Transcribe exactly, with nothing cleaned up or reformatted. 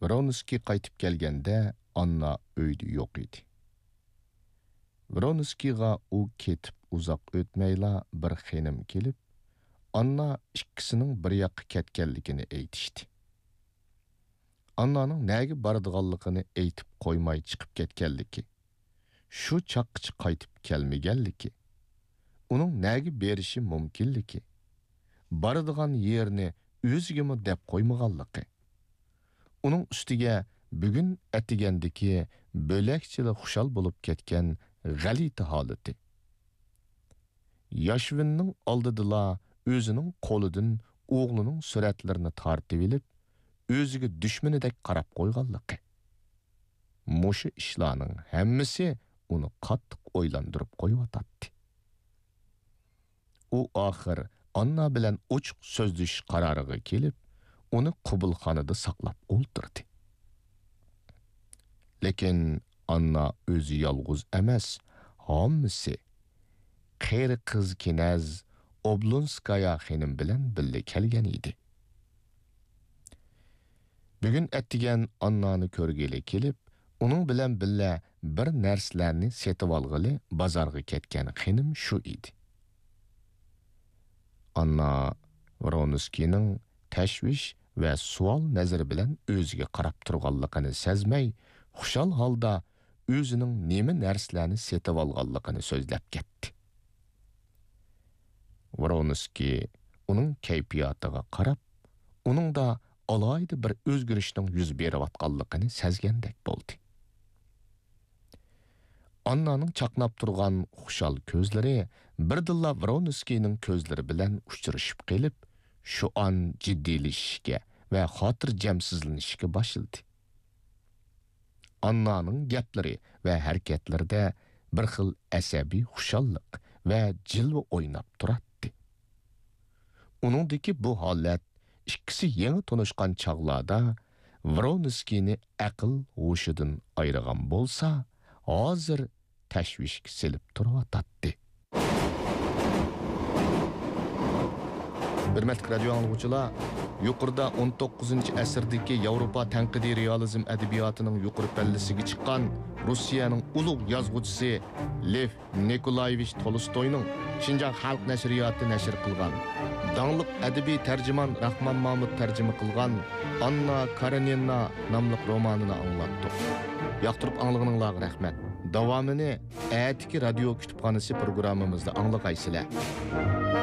ۋرونسكىي قايتىپ كەلگەندە، ئاننا ئۆيدە يوق ئىدى. ۋرونسكىيغا ئۇ كېتىپ ئۇزاق ئۆتمەيلا بىر خېنىم كېلىپ، ئاننا ئىككىسىنىڭ بىر ياققا كەتكەنلىكىنى ئېيتىشتى. ئاننانىڭ نەگە بارىدىغانلىقىنى ئېيتىپ قويماي چىقىپ كەتكەنلىكى، شۇ چاغقىچە قايتىپ كەلمىگەنلىكى، ئۇنىڭ نەگە بېرىشى مۇمكىنلىكى، بارىدىغان يېرىنى ئۆزىگىمۇ دەپ قويمىغانلىقى، ئۇنىڭ ئۈستىگە بۈگۈن ئەتىگەندىكى بۆلەكچىلا خۇشال بولۇپ كەتكەن غەلىتە ھالىتى. ياشۋىننىڭ ئالدىدىلا ئۆزىنىڭ قولىدىن ئوغلىنىڭ سۈرەتلىرىنى تارتىۋېلىپ، ئۆزىگە دۈشمىنىدەك قاراپ قويغانلىقى. مۇشۇ ئىشلارنىڭ ھەممىسى ئۇنى قاتتىق ئويلاندۇرۇپ قويۇۋاتاتتى. ئۇ ئاخىر ئاننا بىلەن ئوچۇق سۆزلىشىش قارارىغا كېلىپ، ئۇنى قوبۇلخانىدا ساقلاپ ئولتۇردى. لېكىن ئاننا ئۆزى يالغۇز ئەمەس، ھاممىسى، قېرى قىز كىنەز ئوبلونسكايا خېنىم بىلەن بىللە كەلگەن ئىدى. بۈگۈن ئەتىگەن ئاننانى كۆرگىلى كېلىپ، ئۇنىڭ بىلەن بىللە بىر نەرسىلەرنى سېتىۋالغىلى بازارغا كەتكەن خېنىم شۇ ئىدى. ئاننا ۋرونسكىينىڭ تەشۋىش ۋە سوئال نەزىرى بىلەن ئۆزىگە قاراپ تۇرغانلىقىنى سەزمەي، خۇشال ھالدا ئۆزىنىڭ نېمە نەرسىلەرنى سېتىۋالغانلىقىنى سۆزلەپ كەتتى. ۋرونسكىي ئۇنىڭ كەيپىياتىغا قاراپ، ئۇنىڭدا ئالاھىدە بىر ئۆزگىرىشنىڭ يۈز بېرىۋاتقانلىقىنى سەزگەندەك بولدى. ئاننانىڭ چاقناپ تۇرغان خۇشال كۆزلىرى بىردىنلا ۋرونسكىينىڭ كۆزلىرى بىلەن ئۇچرىشىپ قېلىپ، شۇ ئان جىددىيلىشىشكە ۋە خاتىرجەمسىزلىنىشكە باشلىدى. ئاننانىڭ گەپلىرى ۋە ھەرىكەتلىرىدە بىر خىل ئەسەبىي خۇشاللىق ۋە جىلۋە ئويناپ تۇراتتى. ئۇنىڭدىكى بۇ ھالەت ئىككىسى يېڭى تونۇشقان چاغلاردا ۋرونسكىينى ئەقىل ھوشىدىن ئايرىغان بولسا، ھازىر تەشۋىشكە سېلىپ تۇرۇۋاتاتتى. ھۆرمەتلىك رادىيو ئاڭلىغۇچىلار، يۇقىرىدا ئون توققۇزىنچى ئەسىردىكى ياۋروپا تەنقىدىي رېئالىزم ئەدەبىياتىنىڭ يۇقىرى پەللىسىگە چىققان روسىيەنىڭ ئۇلۇغ يازغۇچىسى لېف نىكولايېۋىچ تولستوينىڭ شىنجاڭ خەلق نەشرىياتى نەشر قىلغان، داڭلىق ئەدەبىي تەرجىمان راخمان مامۇت تەرجىمە قىلغان ئاننا كارېنىنا ناملىق رومانىنى ئاڭلاتتۇق. ياقتۇرۇپ ئاڭلىغىنىڭلارغا رەھمەت. داۋامىنى ئەتىكى رادىيو كۇتۇپخانىسى پروگراممىمىزدا ئاڭلىغايسىلەر.